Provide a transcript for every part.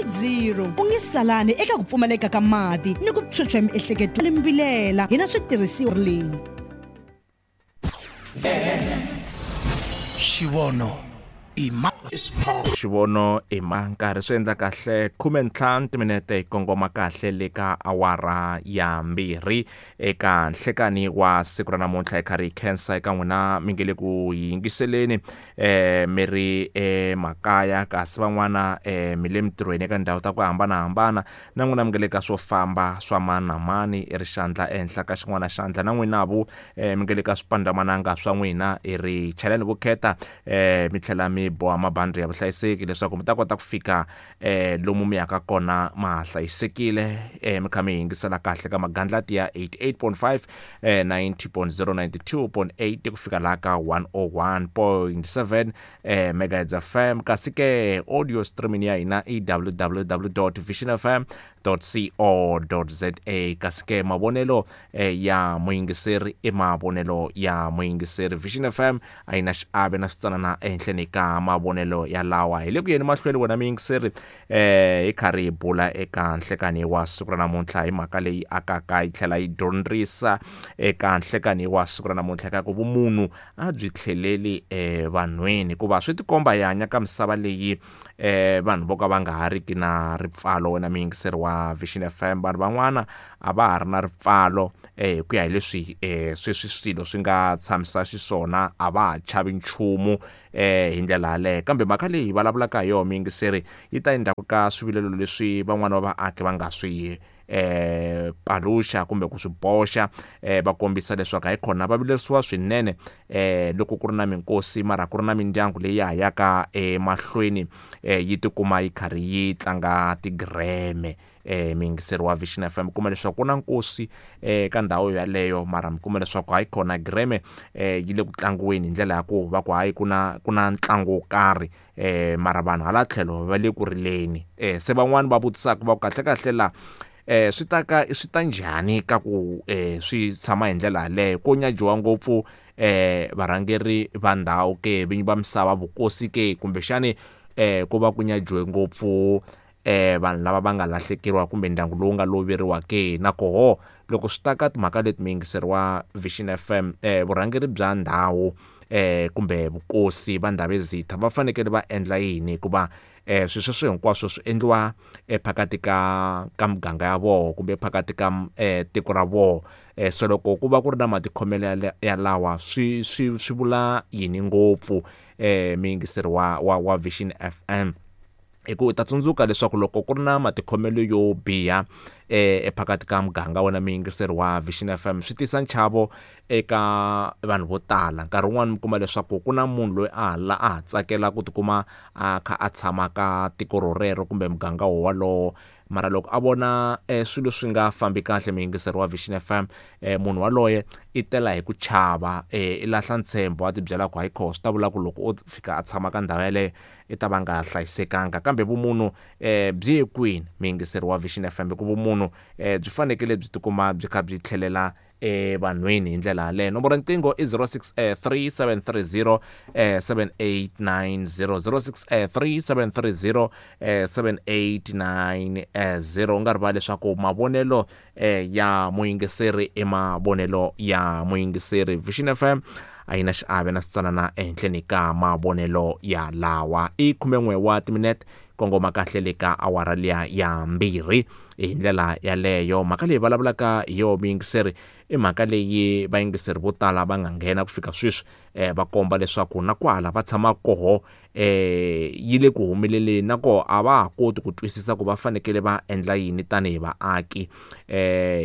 0. U nge salani eka ku pfumaleka ka mati ni ku phyuphya miehleketo limbilela hi na switirhisiwa ling. Xivono i ma Xivono i ma nkarhi swi endla kahle 15 timinete hi kongoma kahle le ka awara ya 2 eka nhlekani wa siku ra namuntlha. Hi karhi hi khensa eka n'wina mi nge le ku yingiseleni mi ri emakaya, kasi van'wana mi le mintirhweni eka ndhawu ta ku hambanahambana, na n'wina mi nge le ka swo famba swa mani na mani i ri xandla ehenhla ka xin'wana xandla, na n'wina vu mi nge le ka swipandzamananga swa n'wina i ri chaleni vukheta mi tlhela mi boha mabandi ya vuhlayiseki leswaku mi ta kota ku fika lomu mi yaka kona ma hlayisekile, mi kha mi yingisela kahle ka magandlati ya 88.5, 90.0, 92.8 ku fika laha ka 101.7 megahertz FM. Kasi ke audio streaming ya hina i www.visionfm.co.za. Kasi ke mavonelo ya muyingiseri i mavonelo ya muyingiseri. Vision FM a yi na xiave na switsanana ehenhleni ka mavonelo ya lawa. Hi le ku yeni mahlweni wena muyingiseri hi karhi hi bula eka nhlekani wa siku ra namuntlha hi mhaka leyi akaka yi tlhela yi dyondzisa eka nhlekani wa siku ra namuntlha ka ku vumunhu a byi tlheleli evanhwini, hikuva swi tikomba hi hanya ka misava leyi vanhu vo ka va nga ha riki na ripfalo. Wena muyingiseri wa Vision FM, vanhu van'wana a va ha ri na ripfalo hi ku ya hi leswi sweswi swilo swi nga tshamisa xiswona, a va ha chavi nchumu hi ndlela yaleyo. Kambe mhaka leyi hi vulavulaka hi yona muyingiseri yi ta endzhaku ka swivilelo leswi van'wana va vaaki va nga swi paluxa kumbe ku swi boxa, va kombisa leswaku hayi khona va vilerisiwa swinene loko ku ri na minkosi, mara ku ri na mindyangu leyi ya ha yaka emahlweni yi tikuma yi karhi yi tlanga tigireme. Muyingiseri wa Vision FM, kuma leswaku ku na nkosi ka ndhawu yaleyo, mara mi kuma leswaku hayi khona gireme yi le ku tlangiweni hi ndlela ya ku va ku hayi ku na ntlangu wo karhi, mara vanhu hala tlhelo va le ku rileni. Se van'wani va vutisaka va ku kahle kahle la swi ta ka swi ta njhani ka ku swi tshama hi ndlela yaleyo, ko nyajiwa ngopfu varhangeri va ndhawu ke, vinyi va misava, vukosi ke, kumbexani ku va ku nyajiwe ngopfu vanhu lava va nga lahlekeriwa kumbe ndyangu lowu nga loveriwa ke. Na koho loko swi ta ka timhaka leti muyingiseri wa Vision FM, vurhangeri bya ndhawu kumbe vukosi va Ndhavezitha va fanekele va endla yini, hikuva swilo sweswo hinkwaswo swi endliwa ephakati ka muganga ya voho kumbe phakati ka tiko ra voho. So loko ku va ku ri na matikhomelo ya lawa swi swi swi vula yini ngopfu muyingiseri wa Vision FM? Hi ku u ta tsundzuka leswaku loko ku ri na matikhomelo yo biha ephakati ka muganga wena muyingiseri wa Vision FM, swi tisa nchavo eka vanhu vo tala. Nkarhi wun'wani mi kuma leswaku ku na munhu loyi a ha a ha tsakela ku tikuma a kha a tshama ka tiko rorero kumbe muganga wowalowo, mara loko a vona swilo swi nga fambi kahle muyingiseri wa Vision FM, munhu waloye i tela hi ku chava, i lahla ntshembo, a tibyela ku hayi kho swi ta vula ku loko o fika a tshama ka ndhawu yaleyo i ta va nga hlayisekanga. Kambe vumunhu byi ye kwini muyingiseri wa Vision FM? Hikuva vumunhu byi fanekele byi tikuma byi kha byi tlhelela evanhwini hi ndlela yaleyo. Nomboro ya nqingho i 063 730 7890, 063 730 7890. U nga rivali leswaku mavonelo ya muyingiseri i mavonelo ya muyingiseri. Vision FM a yi na xiave na switsanana ehenhleni ka mavonelo ya lawa. I 11 wa timinete kongoma kahle le ka awara liya ya 2 hi ndlela yaleyo. Mhaka leyi vulavulaka hi yo muyingiseri i mhaka leyi vayingiseri vo tala va nga nghena ku fika sweswi va komba leswaku na kwala va tshama koho yi le ku humeleleni, na koho a va ha koti ku twisisa ku va fanekele va endla yini tanihi vaaki,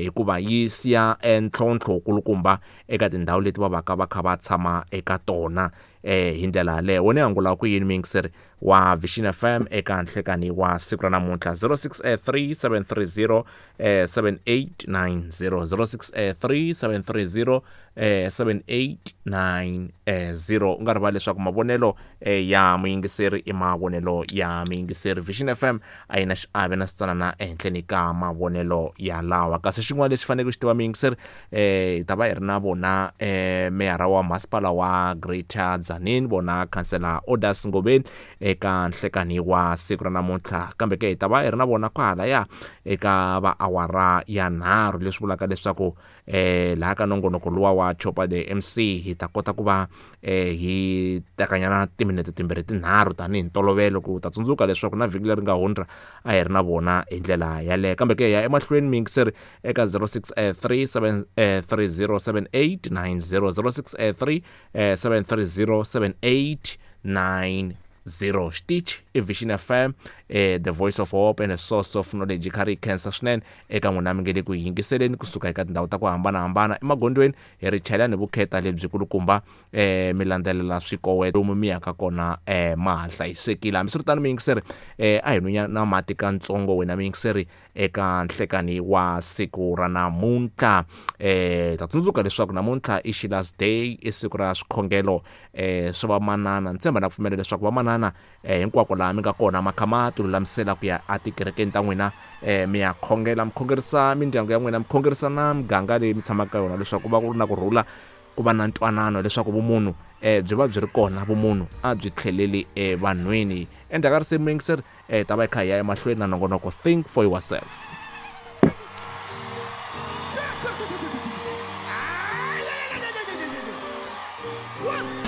hikuva yi siya ntlhontlho wukulukumba eka tindhawu leti va vaka va kha va tshama eka tona hi ndlela yaleyo. Wena angula ku yini muyingiseri wa Vision FM eka nhlekani wa siku ra namuntlha? 063 730 7890, 063 730 7890. U nga rivali leswaku mavonelo ya muyingiseri i mavonelo ya muyingiseri. Vision FM a yi na xiave na switsanana ehenhleni ka mavonelo ya lawa. Kasi xin'wana lexi faneleke xi tiva muyingiseri, hi ta va hi ri na vona meyara wa masipala wa Greater Tzaneen, vona khansela Odas Ngobeni. Eka nhlekani wa siku ra namuntlha, kambe ke hi ta va hi ri na vona kwahalaya eka va awara ya 3, leswi vulaka leswaku laha ka nongonoko luwa wa Chopa the MC hi ta kota ku va hi tekanyana timinete 2 3 tanihi ntolovelo, ku ta tsundzuka leswaku na vhiki leri nga hundza a hi ri na vona hi ndlela yaleyo. Kambe ke ya emahlweni miyingiseri eka 063 730 7890, 063 730 7890. Xitichi i Vision FM, the voice of hope and a source of knowledge. Kha ri khensa swinene eka n'wina mi nge le ku yingiseleni kusuka eka tindhawu ta ku hambanahambana emagondzweni, hi ri chayela ni vukheta lebyi kulukumba, mi landzelela swikoweto lomu mi yaka kona, ma ha hlayisekile. Hambiswiritano miyingiseri, a hi nwinya na mati katsongo wena miyingiseri eka nhlekani wa siku ra namuntlha. Ta tsundzuka leswaku namuntlha i Sheila's Day, i siku ra swikhongelo swa vamanana. Ni tshemba na pfumela leswaku vamanana hinkwako laha mi nga kona ma kha ma ti lulamisela ku ya etikerekeni ta n'wina, mi ya khongela, mi khongerisa mindyangu ya n'wina, mi khongerisa na miganga leyi mi tshamaka ka yona, leswaku ku va ku ri na kurhula, ku va na ntwanano, leswaku vumunhu byi va byi ri kona, vumunhu a byi tlheleli evanhwini. Endzhaku ka risimu muyingiseri, ta va hi kha hi ya emahlweni na nongonoko Think for Yourself. One.